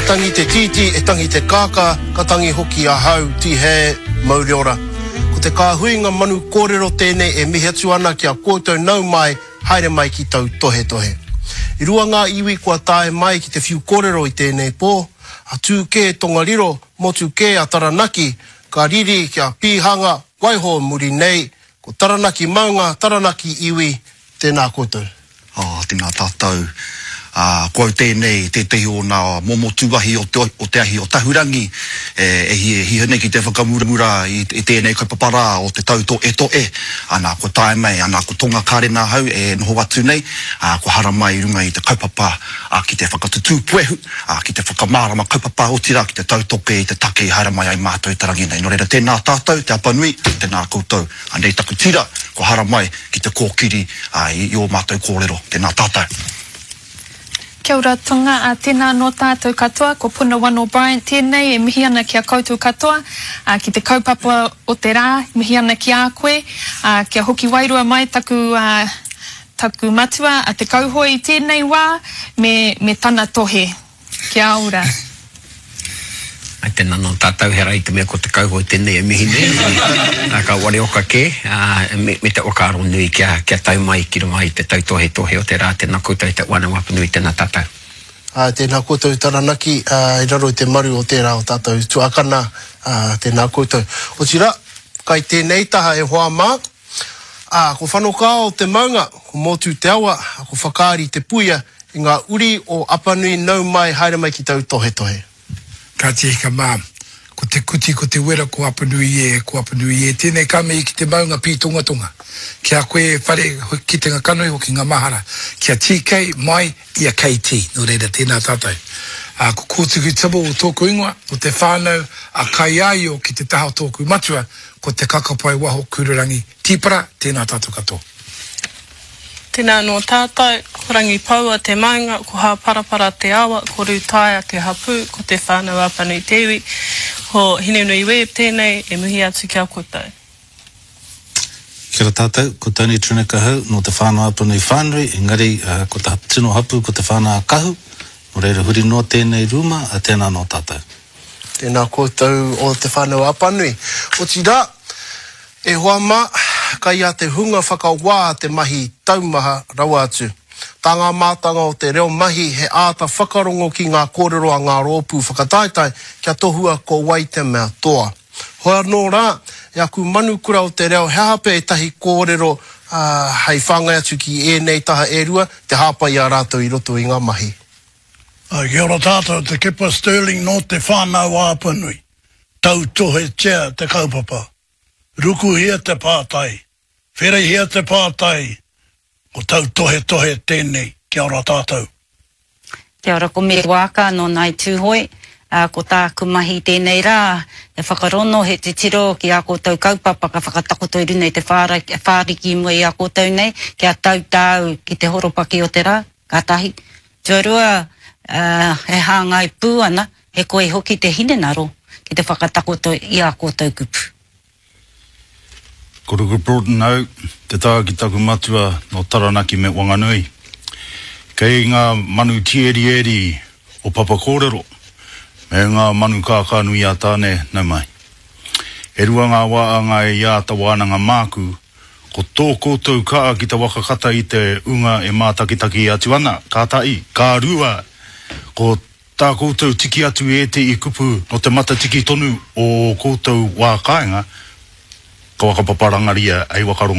tangi te tītī, e tangi te kākā, ka tangi hoki ahau, tīhē, mauri ora. Ko te kāhuinga manu kōrero tēnei e mihi atu ana ki a koutou nau mai, haere mai ki tautohetohe. I rua ngā iwi kua tae mai ki te whiu kōrero i tēnei pō, a tū kē Tongariro, motu kē a Taranaki, ka riri ki a Pīhanga, waiho muri nei, ko Taranaki maunga, Taranaki iwi, tēnā koutou. Ā, tēnā tātou. Ā, ko au tēnei, tētehi o nā momo tūahi o te, o te ahi o Tahurangi, e, e hia, hia nei ki te whakamuramura i, i tēnei kaupapa rā o te tautoetoe. Ana, kua tae mai, ana, ko Tonga Karena ahau e noho atu nei, ā, kua haramai i runga i te kaupapa, ā, ki te whakatutū puehu, ā, ki te whakamārama kaupapa, otirā, ki te tautoke i te take i haere mai ai mātou i te rangi nei. Nō reira, tēnā tātou, Te Apanui, tēnā koutou. Anei taku tira, kua haramai ki te kōkiri i ō mātou kōrero. Tēnā tātou. Kia ora Tonga, ā, tēnā anō tātou katoa, ko Puna Wano Bryant tēnei e mihi ana ki a koutou katoa, ā, ki te kaupapa o te rā, mihi ana ki a koe, ā, kia hoki wairua mai taku, ā, taku matua a Te Kauhoe i tēnei wā, me, me tana tohe. Kia ora. Ai tena no tatou he ra i te mea ko te kauhoe tenei e mihi nei, a ka wareoka ke, a me te whakaaro nui kia kia tau mai ki runga i te tautohetohe o te ra, tena koutou e te Whanau Apanui tena tatou. Ā, tēnā koutou Taranaki, ā, i raro i te maru o tērā o tātou tuakana, ā, tēnā koutou. Otirā, kai tēnei taha e hoa mā, Ā, ko Whanokao te maunga, ko Mōtū te awa, ā, ko Whakaari te puia, i ngā uri o Apanui nau mai haere mai ki tautohetohe. Ka tika mā, ko te kuti, ko te wera, ko Apanui e, ko Apanui e, tēnei ka mihi ki te maunga pītongatonga, ki a koe e whare kitenga kanohi hoki ngā mahara, ki a TK mai i a KT, nō reira tēnā tātou. Ā, ko Kōtuku Tibble tōku ingoa, o te whānau a Kaiaio ki te taha o tōku matua, Ko Te Kakapai Waho Kururangi Tīpara, tēnā tātou katoa. Tēnā anō tātou, ko Rangipoua te maunga, ko Hāparapara te awa, ko Rūtaia te hapū, ko Te Whānau-a-Apanui te iwi, ko Hinenui Webb tēnei e mihi atu ki a koutou. Kia ora tātou, ko Tony Trinick ahau, nō Te Whānau-a-Apanui whānui, engari ko te tino hapū ko Te Whānau-a-Kahu, nō reira huri noa tēnei rūma, tēnā anō tātou. Tēnā koutou o Te Whānau-a-Apanui. Otirā, e hoa mā, kai a te hunga whakawā te mahi taumaha rawa atu. Tā ngā mātanga o te reo mahi he āta whakarongo ki ngā kōrero a ngā rōpū whakataetae kia tohua ko wai te mea toa. Hoi anō rā, e aku manukura o te reo he aha pea ētahi kōrero hei whāngai atu ki ēnei taha e rua, te hāpai i a rātou i roto i ngā mahi. Kia ora tātou, Te Kepa Stirling nō Te Whānau-a-Apanui. Tautohetia te kaupapa. Rukuhia te pātai. Wherehia te pātai. Ko tautohetohe tēnei. Kia ora tātou. Kia ora, ko Mere Waaka nō Ngāi Tūhoe. Ā, ko tāku mahi i tēnei rā, he whakarono, he titiro ki ā koutou kaupapa ka whakatakoto i runga i te whāriki i mua i a koutou nei, kia tau tāu ki te horopaki o te rā, ka tahi. Tuarua, ā, e hāngai pū ana, he koi hoki te hinengaro ki te whakatakoto i ā koutou kupu. Ko Ruku Broughton au, te taha ki taku matua nō Taranaki me Wanganui. Kei ngā manu tīerieri o Papakōrero me ngā manu kākānui-a-Tāne, nau mai. E rua ngā wā anga i āta wānanga māku, ko tō koutou kaha ki te waka kata i te unga e mātakitaki atu ana, ka tahi, ka rua, ko Tā koutou tiki atu i ētehi kupu nō te matatiki tonu o ō koutou wā kāinga, ka whakapaparangaria hei whakarongo.